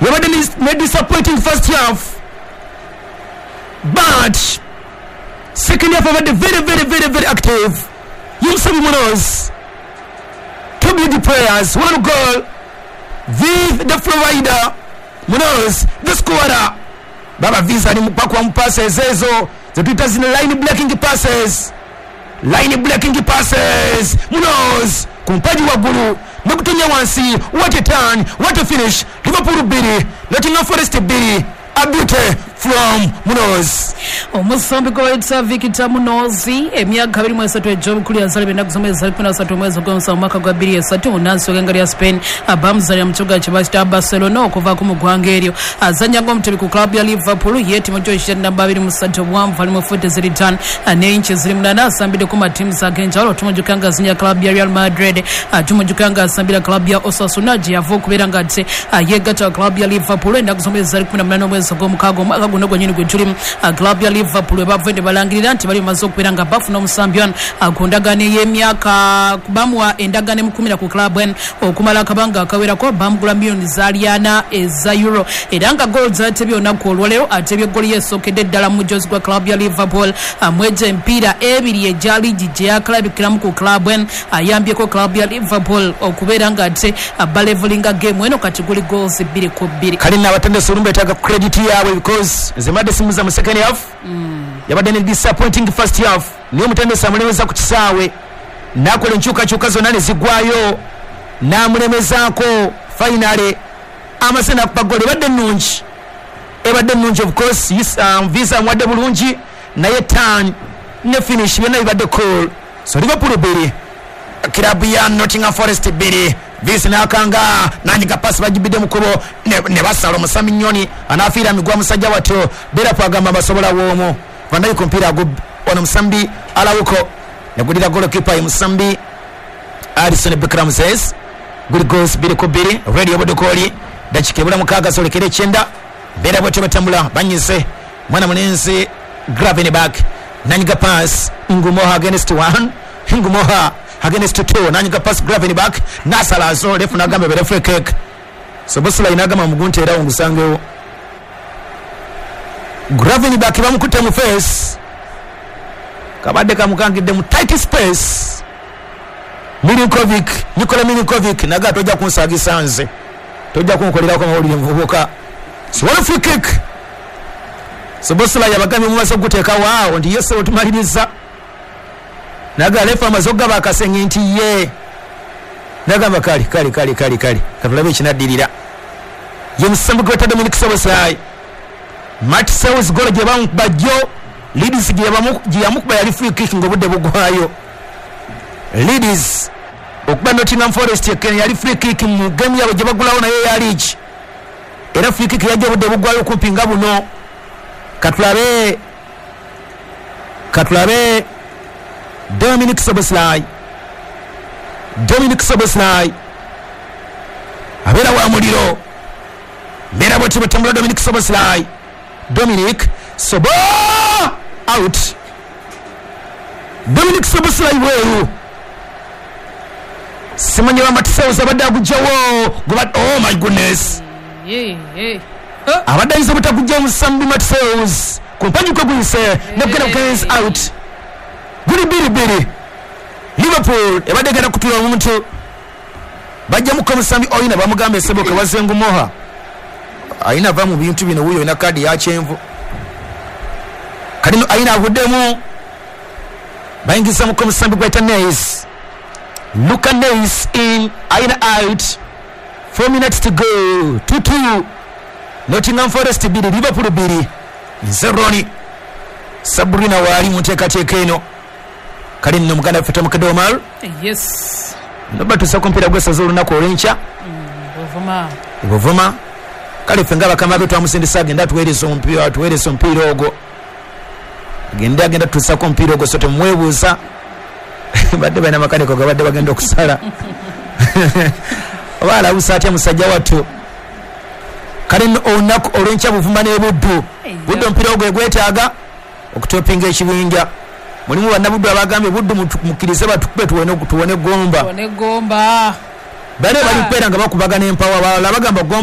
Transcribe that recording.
Yabadde ne disappointing first half, but second half abadde very very very very active. Ye musambi Munoz, two big players, one goal with the provider Munoz the scorer. Baba Visa ali bakuba mu passes ezo zetuyita zino line breaking passes, line breaking passes. Munoz ku mpagi waggulu nokutonya wansi. What a turn, what a finish! Liverpool 2, Nottingham Forest 2. A beauty from Munoz. Omusambi gwe bayita Victor Munoz, emyaka 23 egy'obukulu, yazaalibwa ennaku z'omwezi 13 omwezi ogw'omusanvu mwaka gwa 2003, munnansi w'egwanga lya Spain. Bamuzaalira mu kibuga kye bakita Barcelona. Okuvaako mu ggwanga eryo, azannya ng'omutebi ku club ya Liverpool. Ye Timotheo kya namba 23, obuwanvu ali mu futi ziri 5 n'einchi ziri 8. Asambiddeko mu teams ag'enjawulo. Tumujjuka nga azinnya club ya Real Madrid, tumujjuka nga asambira club ya Osasuna gye yava okubeera nga ate yeegatta club ya Liverpool ennaku z'omwezi zali 18 omwezi ogw'omukaaga omwaka guno gwennyini gwe tulimu. Club ya Liverpool we bavudde ne balangirira nti bali bamaze okubeera nga bafuna omusambi ono ku ndagaano ey'emyaka, bamuwa endagaano emukumira ku club eno okumala akabanga akawerako. Bamugula miliyoni zaali 4 eza euro, era nga goal zatebye olunaku olwaleero, atebye goli yesookedde ddala mu mujozi gwa club ya Liverpool. Mwejo emipiira ebiri egya liigi gye yakalabikiramu ku club eno, ayambyeko club ya Liverpool okubeera nga ate balevelinga game eno. Kati guli goals 2-2. Kale nno abatendesi olumu betaaga credit yaabwe, because nze mbadde simuza mu second half. Yabadde ne disappointing first half, naye omutendesi amulemeza ku kisaawe n'akola enkyukakyuka zonna ne ziggwayo n'amulemezaako. Finally amaze nakuba gol ebadde ennungi, ebadde ennungi. Of course Visa amuwadde bulungi, naye turn ne finish byonna bibadde cool. So Liverpool 2, kirabu ya Nottingham Forest 2. Visi nakanga nanyiga pasi, bagibidde mukubo ne basala omusami nyoni anafiira migwa musajja watto. Derapo agamba basobola woomu vandayi ku mupiira ono musambi alawuko negulira golokipa ye musambi Alison Becker Ramses. Guli goals 2-2. Radio Budukoli, dakika ebula 6 zolekera 9. Mbeera bwetyo batambula banyize mwana mulenzi Gravenberch, nanyiga pass, Ngumoha against one, Ngumoha against two, nanyiga pass, Gravenberch nasalazo, refu nagamba bere free kick. So Bosula inagamba mugunte era ungusangewo. Gravenberch bamukutte mu face, kabadde kamukangidde mu tight space. Milinkovic, Nikola Milinkovic naga tojja kunsagisa nze, tojja kunkolerako amawulire muvubuka. So what a free kick! So Bosula yabagambye mumaze okuteeka waawo nti yese otumaliriza. Naga refa amaze okugaba akasenge nti ye nagamba kale kale kale kale kale, katulabe ekinaddirira. Ye musambi gweta Dominic Szoboszlai. Matt Sales golo gye bamukuba jjo Leeds gye yamukuba yali free kick ng'obudde bugwayo. Leeds okuba Nottingham Forest ekene yali free kick mu game yabwe gye bagulawo naye ya league, era free kick yajja obudde bugwayo kumpi nga buno. Katulabe, katulabe Dominic Szoboszlai. Dominic Szoboszlai abeera wa muliro, mbeera bwetyo bwetambula. Dominic Szoboszlai, Dominic Sobo out, Dominic Szoboszlai bweru. Simanyi bamatisewo abadde agugjawo. Oh my goodness! Abadde ayinza obutagujja omusambi Matseus ku mpagi kwe guyise negenda bugenzi out. Guli 2-2. Liverpool ebadde egenda kutula omuntu, bajjamuko omusambi oyina, bamugamba esebo kewazengumoha ayina va mu bintu bino, wuyo olina kaadi yakyenvu. Kati ayina avuddemu, bayingizamuko omusambi gwayita Neis, Luca Neis in, ayina out. 4 minutes to go, 2-2, Nottingham Forest 2, Liverpool 2. Nze Roni, Sabrina waali mu nteekateeka eno. Kale nno muganda waffe Tomukedde Omar. Yes. Noba tusa ku mupiira gw'essaza olunaku olw'enkya. Buvuma. Buvuma. Kale ffe nga bakama be twamusindisa agenda atuweereza omupiira, atuweereza omupiira ogwo, agende agenda tutusako omupiira ogwo. So temwebuuza badde balina makaniko gabadde bagenda okusala oba alawusa atya musajja wattu. Kale nno olunaku olw'enkya Buvuma n'ebuddu. Buddu omupiira ogwo egwetaaga okutopinga ekibinja. Mulimu bannabuddu abagambye Buddu mukkirize batukube tuwone Gomba. Tuwone Gomba. Bale bali kubeera nga bakubagana empawa, balala bagamba Gomba.